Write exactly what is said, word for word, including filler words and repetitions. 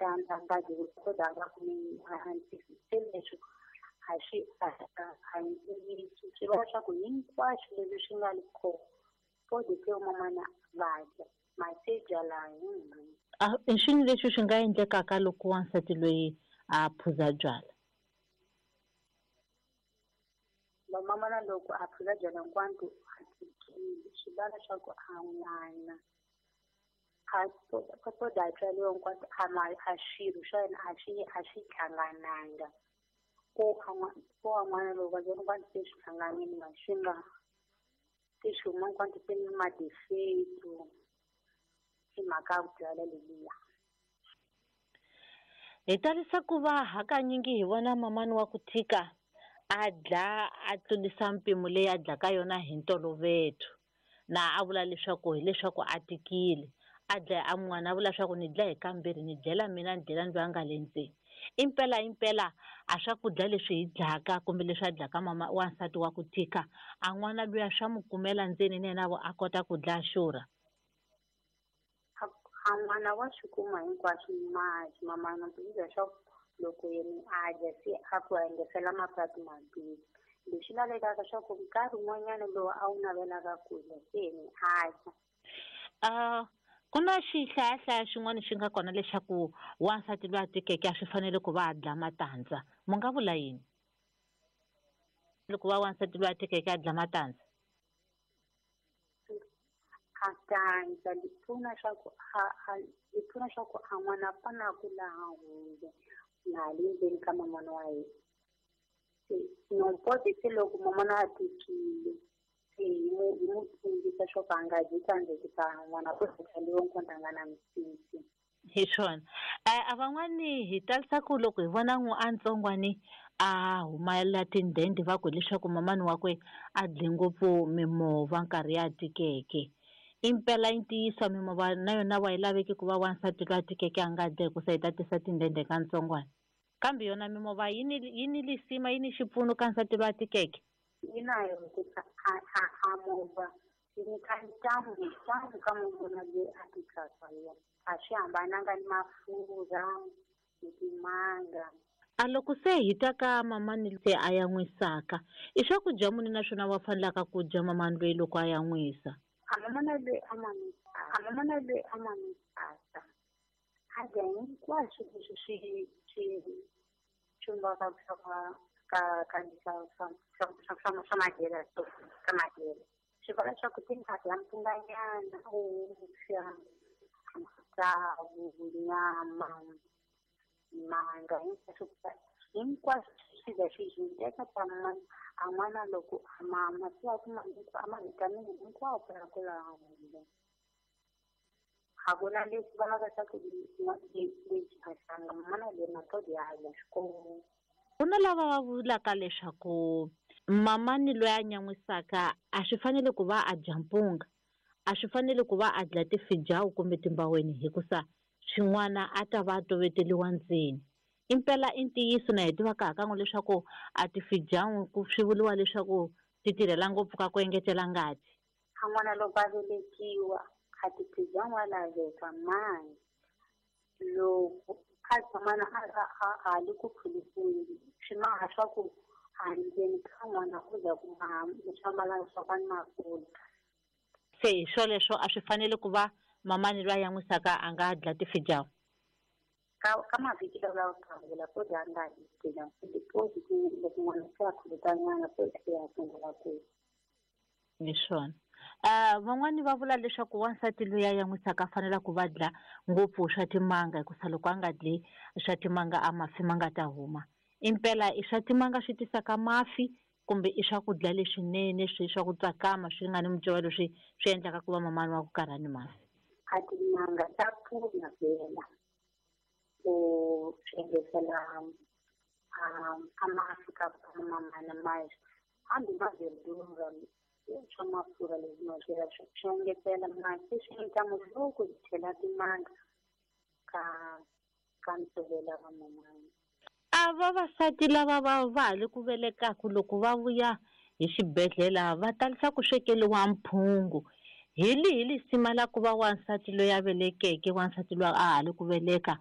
matandza a nga dyi kodwa a nga kumi se leswi a swi a a hi ntiyiso swi vula leswaku hinkwaswo leswi swi nga le kona podi se mamana va dya masi byala hi A i swini leswi swi nga endlekaka loko wansati loyi a phuza byala? Mamana loko a phuza byala hinkwato a tikile swi vula leswaku a n'wana a poda a tswariwa hinkwato a ma a swirho swa yena a swi a swi hlangananga ko ko a n'wana loko va hinkwato se swi hlanganile ma swi nga se swi huma hinkwato se ni madefeto hi mhaka ya byala leliya. Hi talisa ku va hakanyingi hi vona mamani wa ku tika a dla a tlurisa mpimo leyi a dlaka yona hi ntolovelo na a vula leswaku hileswaku a tikile a dlaya a n'wana a vula leswaku ni dlaya hi kambirhi ni dlela mina ni dlela ndzi nga le ndzeni. Impela impela a swakudya leswi hi dlaka kumbe leswi a dlaka mama wansati wa ku tika a n'wana luya swa mu kumela ndzeni na yena a kota ku dlaya xurha. A n'wana wa swi kuma hinkwaswo masi mamana leswaku loko yena a dya se a ku engetela mapatu mambirhi leswi lavekaka swa ku nkarhi wun'wanyana lowu a wu navelaka ku dya se yena a dya. Uh, ku na xihlayahlaya xin'wana xi nga kona leswaku wansati loyi a tikeke a swi fanele ku va a dla matandza mu nga vula yini loko va wansati loyi a tikeke a dla matandza? A tandza li pfuna swa ku a a li pfuna swa ku a n'wana a fana ku laha hundze na le ndzeni ka mamana wa yena se nompoti se loko mamana a tikile se hi mu hi mu tsundzuxa swa ku a nga dyi tandza hikuva n'wana ku tsaliwa nkonta a nga na misisi. Hi swona a van'wani hi talisa ku loko hi vona n'wi a ntsongwani a humela tindende va ku hileswaku mamani wakwe a dle ngopfu mimovha nkarhi ya tikeke. Impela i ntiyiso mimovha na yona wa yi laveki ku va wansati loyi a tikeke a nga dya hikusa yi ta tisa tindende ka ntsongwana kambe yona mimovha yi ni yi ni lisima yi ni xipfuno ka nsati loyi a tikeke. Yi na yo hikusa a a a movha yi nyika ntamu ntamu ka munhu loyi a tikaka yena a swi hambananga ni mafurha ni timanga. A loko se hi ta ka mamani se a yan'wisaka i swakudya muni naswona wa fanelaka ku dya mamani loyi loko a yan'wisa? A mamana loyi a mamisa a mamana loyi a mamisaka a dya hinkwaswo leswi swi swi chumbaka swa ka ka swa swa swa swa swa madyelo ka madyelo swi vula leswaku timhaka ya mpfunganyana vuswa matsavu nyama manga hinkwaswo hinkwaswo swi dya swi swi teka ta a n'wana loko a mama se a kuma a ma-vitamin hinkwawo ya ku laha hundze a ku na leswi vulaka swa ku lexi a hlanga mamana loyi matodi ya dya xikolo. Ku na lava va vulaka leswaku mamani loyi a nyan'wisaka a swi fanele ku va a dya mpunga a swi fanele ku va a dla tifijawu kumbe timbaweni hikusa swin'wana a ta va a toveteliwa ndzeni. Impela i ntiyiso na hi tivaka hakan'we leswaku a tifijawu ku swi vuriwa leswaku ti tirhela ngopfu ka ku engetela ngati. A n'wana loko a velekiwa a tifijawu wa laveka mani loko a tshamana a a a li ku phulisiweni swi maha swa ku a ndzeni ka n'wana ku za ku maha swa malanga swa ku a ni mafurha. Se hi swoleswo a swi fanele ku va mamani loyi a yan'wisaka a nga dla tifijawu. Ka ka mavhiki lawa lawa kavula po dya nga dyi tifijawu deposit loko n'wana se a khulukanyana se ya sungula ku. Hi swona. Uh, van'wani va vula leswaku wansati loyi a yan'wisaka a fanela ku va dla ngopfu swa timanga hikusa loko a nga dli swa timanga a mafi ma nga ta huma. Impela i swa timanga swi tisaka mafi kumbe i swakudya leswinene swi swa ku tsakama swi nga ni mucovelo swi swi endlaka ku va mamani wa ku karha ni mafi. A timanga ta pfuna vhela ku swi engetela a a mafi ka mamana ma hambi ma verdura swa mafurha leswi ma swi swi engetela masi swi endla loko hi chela timanga ka ka ntshovelo wa mamana. A vavasati lava va va ha le ku velekaka loko va vuya hi xibedhlele va talisa ku swekeliwa mphungu hi lihi lisima la ku va wansati loyi a velekeke wansati loyi a ha le ku veleka